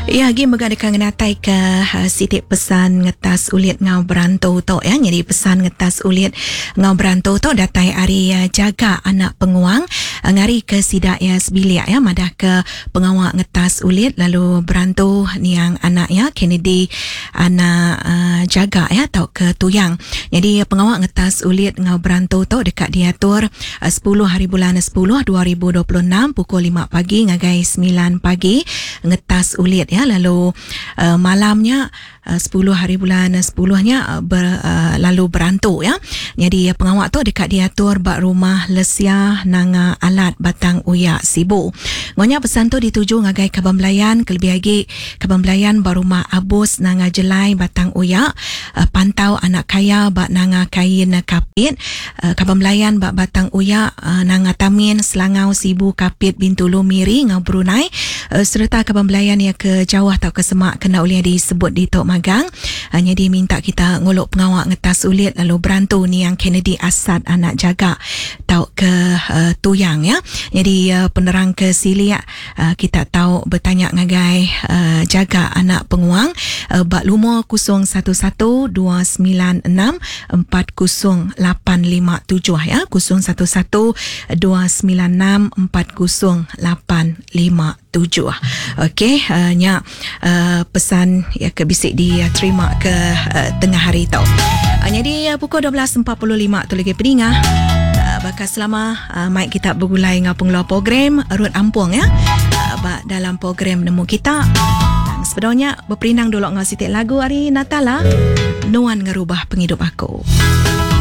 Iya agi mega deka ngenataika siti pesan ngetas ulit enggau berantu tu ya. Nyadi pesan ngetas ulit enggau berantu tu datai ari jaga anak penguang ngarika sida iya sebilik ya madahka pengawa ngetas ulit lalu berantu niang anak iya Kennedy anak jaga ya tauka tuyang. Nyadi pengawa ngetas ulit enggau berantu tu deka diatur 10 hari bulan 10 2026 pukul 5 pagi ngagai 9 pagi ngetas ulit ya lalu uh, malam nya uh, 10 hari bulan 10 nya ber, uh, lalu berantu ya. Nyadi pengawa tu deka diatur ba rumah Lesia Nanga Alat Batang Uya Sibu. Ngonya pesan tu dituju ngagai kaban belayan kelebih agi kaban belayan ba rumah Abus Nanga Jelai Batang Uya, Pantau Anak Kaya ba Nanga Kain Kapit, Kaban belayan ba Batang Uya, Nanga Tamin, Selangau, Sibu, Kapit, Bintulu, Miri enggau Brunei sereta kaban belayan iya ke jauh tauka semak ke enda ulih disebut ditu magang. Nyadi minta kita ngulu pengawa ngetas ulit lalu berantu niang Kennedy Asat anak Jaga tauka Tuyang ya. Nyadi penerang ke silik kita tau betanya ngagai Jaga anak Penguang ba lumur 011 296 40857 ya 011 296 40857. Okey uh, nya uh, pesan ya ke bisi diterima ke uh, tengah hari tu. Uh, jadi uh, pukul 12.45 tu lagi peninga uh, bakal selama uh, mic kita bergulai dengan pengeluar program Ruth Ampung ya. Uh, ba dalam program nemu kita. Sebenarnya Beperindang dulu enggau siti lagu ari Natala, Nuan Ngerubah Pengidup Aku.